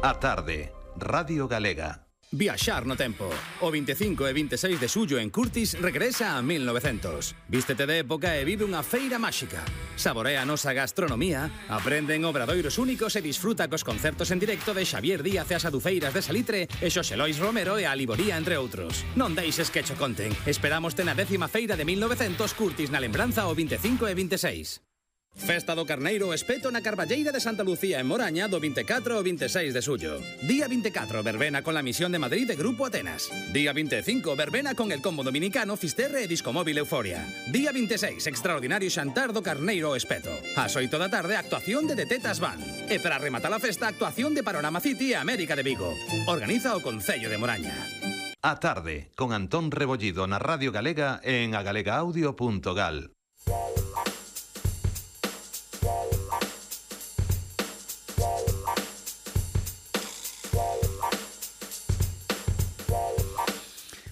A tarde, Radio Galega. Viaxar no tempo. O 25 e 26 de xullo en Curtis regresa a 1900. Vístete de época e vive unha feira máxica. Saborea a nosa gastronomía, aprende en obradoiros únicos e disfruta cos concertos en directo de Xavier Díaz e as Adufeiras de Salitre e Xosé Lois Romero e a Liboría, entre outros. Non deixes que cho conten. Esperámoste na 10ª feira de 1900 Curtis na lembranza o 25 e 26. Festa do Carneiro Espeto na Carballeira de Santa Lucía en Moraña do 24 ao 26 de xullo. Día 24, verbena con la Misión de Madrid de Grupo Atenas. Día 25, verbena con el combo dominicano Fisterre e Discomóvil Euforia. Día 26, extraordinario xantar do Carneiro Espeto. Ás 8 da tarde, actuación de Tetas Band. E para rematar a festa, actuación de Panorama City e América de Vigo. Organiza o Concello de Moraña. A tarde, con Antón Rebollido na Radio Galega e en agalegaaudio.gal.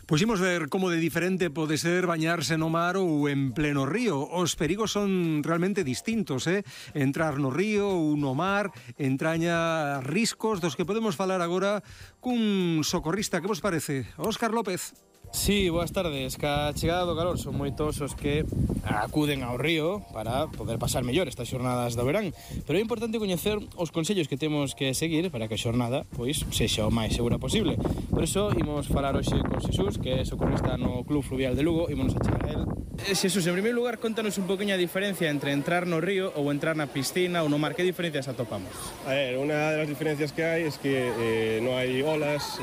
Puximos ver como de diferente pode ser bañarse no mar ou en pleno río. Os perigos son realmente distintos, Entrar no río ou no mar entraña riscos dos que podemos falar agora cun socorrista. Que vos parece? Óscar López. Sí, boas tardes. Ca chegada do calor son moitos os que acuden ao río para poder pasar mellor estas xornadas do verán, pero é importante coñecer os consellos que temos que seguir para que a xornada pois sexa o máis segura posible. Por iso imos falar hoxe con Xesús, que é socorrista no Club Fluvial de Lugo, ímonos a chegar a él. Xesús, en primeiro lugar, contanos un poquinho a diferencia entre entrar no río ou entrar na piscina ou no mar. Que diferencias atopamos? A ver, unha das diferencias que hai es que non hai olas,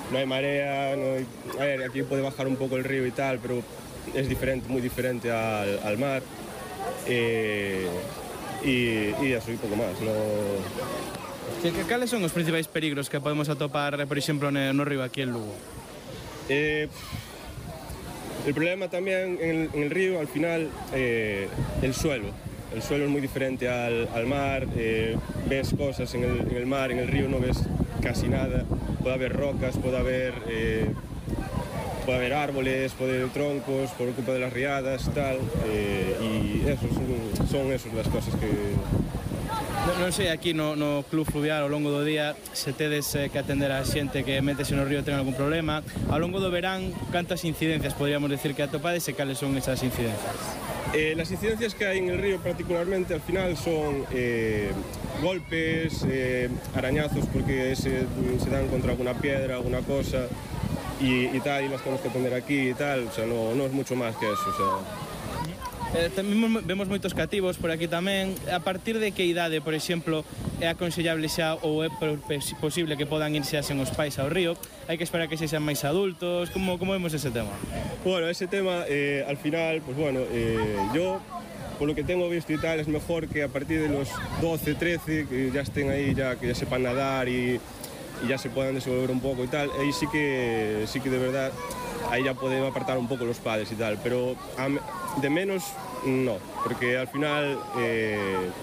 no hay marea, no hay... A ver, aquí puede bajar un poco el río y tal, pero es diferente, muy diferente al mar. Y eso y poco más. No... Cales son os principais peligros que podemos atopar, por exemplo, no río aquí en Lugo? El problema también en el río, al final, el suelo. El suelo es muy diferente al mar, ves cosas en el mar, en el río no ves casi nada. Puede haber rocas, puede haber árboles, puede haber troncos por culpa de las riadas, tal, y eso son esas las cosas que... Non sei, aquí no Club Fluvial ao longo do día se tedes que atender a xente que metese no río ten algún problema. Ao longo do verán, cantas incidencias podríamos decir que atopades e cales son esas incidencias? Las incidencias que hay en el río particularmente al final son golpes, arañazos porque se dan contra alguna piedra, alguna cosa y tal, y las tenemos que atender aquí y tal, o sea, no es mucho más que eso, o sea... Tamén vemos moitos cativos por aquí tamén. A partir de que idade, por exemplo, é aconsellable xa ou é posible que podan irse sen os pais ao río? Hai que esperar que sexan máis adultos? Como vemos ese tema? Bueno, ese tema, al final, pues bueno, yo, por lo que tengo visto y tal, es mejor que a partir de los 12, 13, que ya estén ahí, que ya sepan nadar y ya se puedan desenvolver un poco y tal, ahí sí que de verdad, ahí ya pueden apartar un poco los padres y tal, pero de menos no, porque al final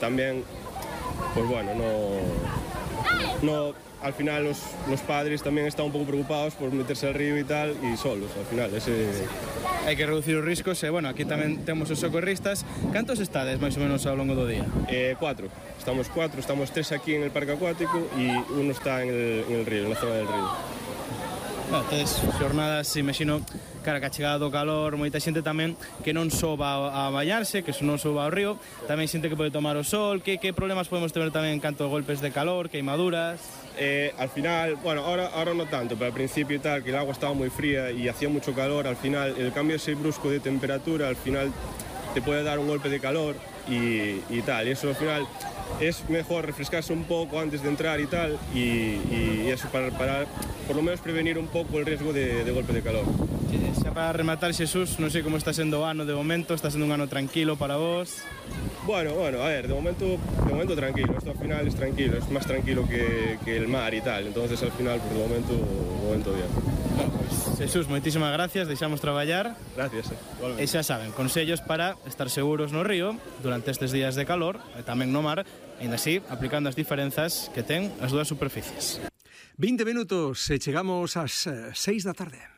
también, pues bueno, no al final los padres también están un poco preocupados por meterse al río y tal, y solos, al final, Hai que reducir os riscos e, bueno, aquí tamén temos os socorristas. Cantos estades, máis ou menos, ao longo do día? 4. Estamos 4, estamos 3 aquí en el parque acuático y uno está en el río, en la zona del río. Tedes xornadas, imagino, cara que a chegada do calor, moita xente tamén que non soba a bañarse, que non soba ao río, tamén xente que pode tomar o sol. Que problemas podemos ter tamén en canto a golpes de calor, queimaduras? Al final, bueno, ahora no tanto, pero al principio y tal, que el agua estaba muy fría y hacía mucho calor, al final el cambio ese brusco de temperatura, al final te puede dar un golpe de calor y tal, y eso al final es mejor refrescarse un poco antes de entrar y tal, y eso para por lo menos prevenir un poco el riesgo de golpe de calor. Xa para rematar, Xesús, non sei como está sendo o ano de momento, está sendo un ano tranquilo para vos? Bueno, a ver, de momento tranquilo, esto al final es tranquilo, es más tranquilo que el mar y tal, entonces al final, pues de momento bien. Bueno, pues, Xesús, moitísimas gracias, deixamos traballar. Gracias, igualmente. E xa saben, consellos para estar seguros no río durante estes días de calor e tamén no mar, e así aplicando as diferenzas que ten as dúas superficies. 20 minutos e chegamos ás 6 da tarde.